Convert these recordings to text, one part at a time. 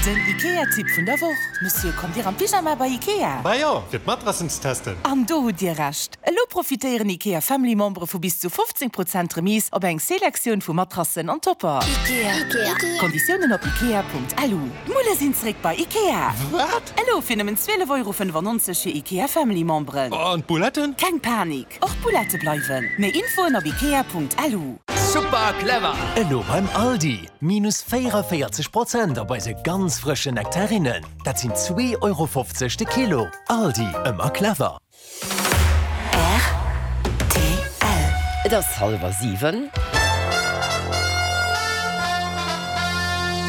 Den Ikea-Tipp vun der Woch, Monsieur, kommt Dir am Pyjama bei Ikea? Bah jo, fir d'Matrassen ze testen. An do hutt Dir Recht! Elo profitéieren Ikea Family Membere vu bis zu 15 Prozent Remise op eng Selektioun vu Matrassen an Topper. Ikea. Konditiounen op ikea.lu. D'Mulle sinn zréck bei Ikea! Wat? Elo fir nëmmen 12,95 Euro fir Ikea Family Memberen. An d'Bouletten? Keng Panik! Och d'Boulette bleiwen. Méi Infoen op ikea.lu. Super clever! Elo beim Aldi, minus 44 Prozent op eise ganz frëschen Nektarinnen. Dat sinn 2,50 Euro de Kilo. Aldi, ëmmer clever! Rtl. Et ass hallwer 7.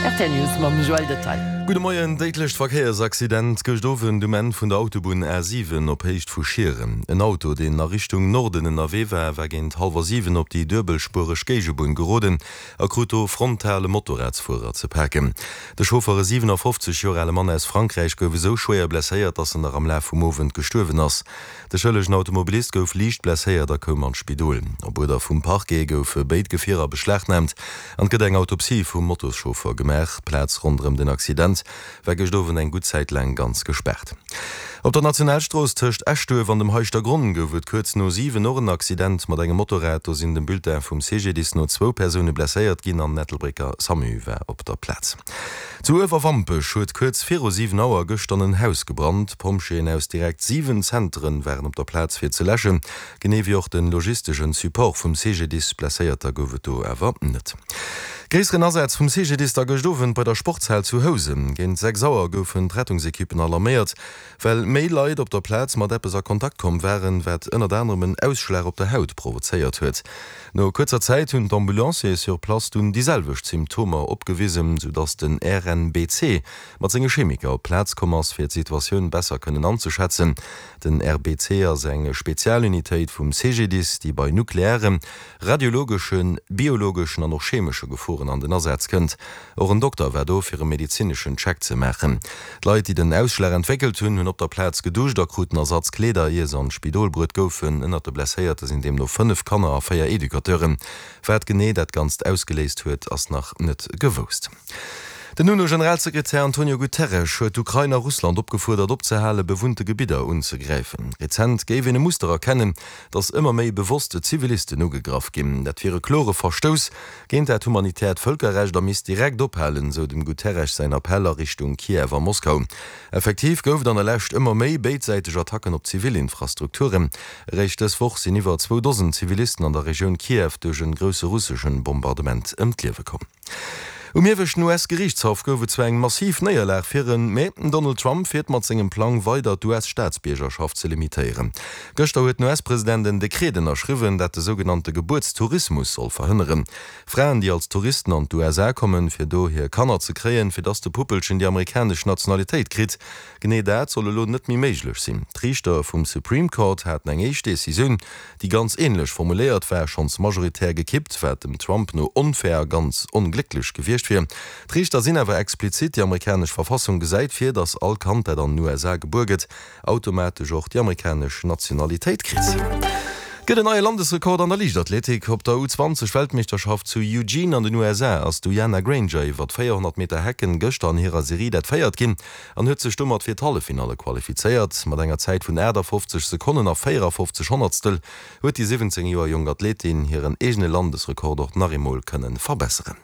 Rtl News mam Joël Detaille. Gudde Moien, Déidlecht Verkéiersaccident gëscht Owend um Enn vun der Autobunn A7 op Héicht vu Schieren. En Auto, deen a Richtung Norden ënnerwee war, war géint hallwer 7 op déi duebelspuereg Géigebunn geroden a krut do frontal e Motorradsfuerer ze paken. De Chauffer, e 57 Joer ale Mann aus Frankräich, gouf esou schwéier blesséiert, datt en nach am Laf vum Owend gestuerwen ass. De schëllegen Automobilist gouf liicht blesséiert a koum an d'Spidol. Op Uerder vum Parquet goufe béid Gefierer beschlagnaamt an et gëtt eng Autopsie vum Motoschauffer gemaach. D'Plaz ronderëm den Accident war gëscht Owend eng gutt Zäit laang ganz gespaart. Op der Nationalstrooss tëscht Eschduerf an dem Heischtergronn gouf et kuerz no 7 och en Accident mat engem Motorrad. Do sinn dem Bulletin vum CGDIS no zwou Persoune blesséiert ginn an den Ettelbrécker Samu war op der Plaz. Zu Uewerwampech huet kuerz viru 7 Auer gëschter en Haus gebrannt. Pompjeeën aus direkt 7 Zenteren waren op der Plaz fir ze läschen, genee wéi och den logisteschen Support vum CGDIS. Blesséierter gouf et do awer net. Gréisseren Asaz vum CGDIS da gëscht Owend bei der Sportshal zu Housen. Géint 6 Auer goufen d'Rettungsekippen alarméiert, well méi Leit op der Plaz mat eppes a Kontakt komm waren, wat ënnert anerem en Ausschlag op der Haut provozéiert huet. No kuerzer Zäit hunn d'Ambulanciere sur place dunn déi selwecht Symptomer opgewisen, sou dass den RNBC mat senge Chemiker op d'Plaz komm ass, fir d'Situatioun besser kënnen anzeschätzen. Den RBC ass eng Spezialunitéit vum CGDIS, déi bei nuklearen, radiologeschen, biologeschen an och chemesche Geforen an den Asaz kënnt. Och en Dokter war do, fir e medezineschen Check ze maachen. D'Leit, déi den Ausschlag entwéckelt hunn, hunn op der Plaz geduscht a kruten Ersatzkleeder, ier se an d'Spidol bruet goufen. Ënnert de Blesséierte sinn deemno 5 Kanner a 4 Educateuren. Wat genee dat Ganzt ausgeléist huet, ass nach net gewousst. Den UNO-Generalsekretär Antonio Guterres huet d'Ukrain a Russland opgefuerdert, opzehale bewunnte Gebidder unzegräifen. Rezent géif een e Muster erkennen, datt ëmmer méi bewosst Zivilisten ugegraff ginn. Dat wier e klore Verstouss géint dat humanitäert Vëlkerrecht a misst direkt ophalen, sou dem Guterres säin Appell a Richtung Kiew a Moskau. Effektiv gouf et an der Lescht ëmmer méi béidsäiteg Attacken op zivil Infrastrukturen. Eréischt dës Woch sinn iwwer zwou Dosen Zivilisten an der Regioun Kiew duerch en grousse russeschen Bombardement ëm d'Liewe komm. Um ieweschten US-Geriichtshaff gouf et zwar eng massiv Néierlag fir en, mee den Donald Trump fiert mat sengem Plang weider d'US-Staatsbiergerschaft ze limitéieren. Gëschter huet den US-President en Dekret ënnerschriwwen, dat de sougenannte Gebuertstourismus soll verhënneren. Fraen, déi als Touristen an d'USA kommen, fir do hir Kanner ze kréien, fir dass de Puppelchen déi amerikanesch Nationalitéit kritt. Genee dat soll elo net méi méiglech sinn. D'Riichter vum Supreme Court haten eng éischt Decisioun, déi ganz änlech formuléiert war, schonns majoritär gekippt, wat dem Trump no onfair a ganz onglécklech gewiescht wier. D'Riichter sinn awer explizit, déi amerikanesch Verfassung gesäit vir, datt all Kand, dat an den USA gebuer gëtt, automatesch och déi amerikanesch Nationalitéit kritt. Gëtt en neie Landesrekord an der Liichtathletik. Op der U20 Weltmeeschterschaft zu Eugene an den USA ass d'Uyana Granger iwwer 400 Meter Hecken gëschter an hirer Serie dat véiert ginn an huet sech domat fir d'Halleffinalle qualifizéiert. Mat enger Zäit vun 58 Sekonnen a 54 Honnertstel huet déi 17 Joer jonk Athletin hiren eegene Landesrekord och nach eemol kënne verbesseren.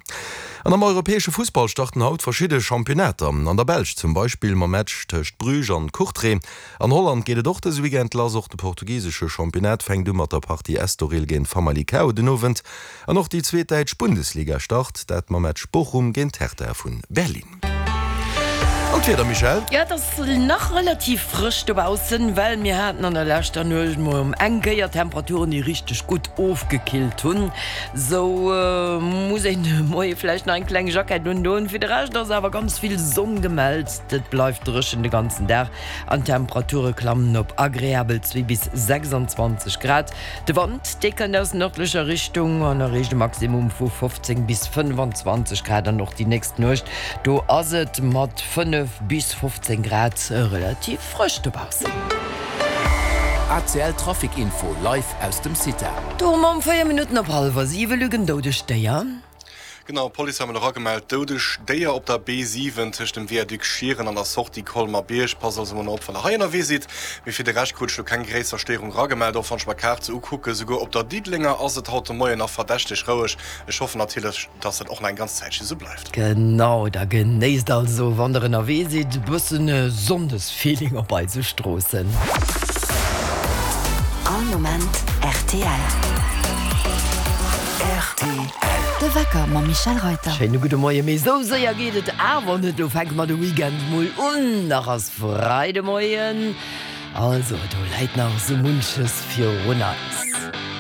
An am europäesche Fussball starten haut verschidde Championnater. An der Belsch zum Beispill mam Match tëscht Bruges an Courtrai. An Holland geet et och dëse Weekend lass. Och de portugisesche Championnat fänkt u mat der Partie Estoril géint Famalicao den Owend. An och déi zweet däitsch Bundesliga start, dat mam Match Bochum géint Hertha vun Berlin. An d'Wieder, Michèle? Jo, et ass nach relativ frësch dobaussen, well mir haten an der leschter Nuecht mol eng Kéier Temperaturen, déi richteg gutt ofgekillt hunn. Sou muss een de Moie vläicht nach eng kleng Jackett undoen. Fir de Rescht ass awer ganz vill Sonn gemellt, et bleift dréchen de ganzen Dag an d'Temperature klammen op agreabel 2 bis 26 Grad. De Wand, dee kënnt aus nërdlecher Richtung an erreecht e Maximum vu 15 bis 25 Grad an och déi nächst Nuecht, do ass et mat 5 bis 15 Grad relativ frësch dobaussen. ACL Trafic Info live aus dem CITA. Do hu mer um 4 Minutten op hallwer 7 Luc en doudegt Déier. Genau, d'Police hat mol eragemellt, doudeg Déier op der B7 tëscht dem Viaduc Schieren an der Sortie Colmer-Bierg. Passt also mol op, wann der hei ënnerwee sidd. Mee fir de Rescht krut ech lo keng gréisser Stéierung eragemellt, och wann ech mer d'Kaart sou ukucken. Souguer op der Diddelenger ass et haut de Moien nach verdächteg roueg. Ech hoffen natierlech, dass dat och nach eng ganz Zäitchen sou bleift. Genau, da genéisst also, wann der ënnerwee sidd, e bëssen Sonndesfeeling op eise Stroossen. All Moment rtl. Rtl. De Wecker mam Michel Reuter. Schéine gudde Moie, mee esou séier geet et awer net. Lo fänke mer de Weekend mol un. Nach ass Freidemoien, also do läit nach esou munches virun eis.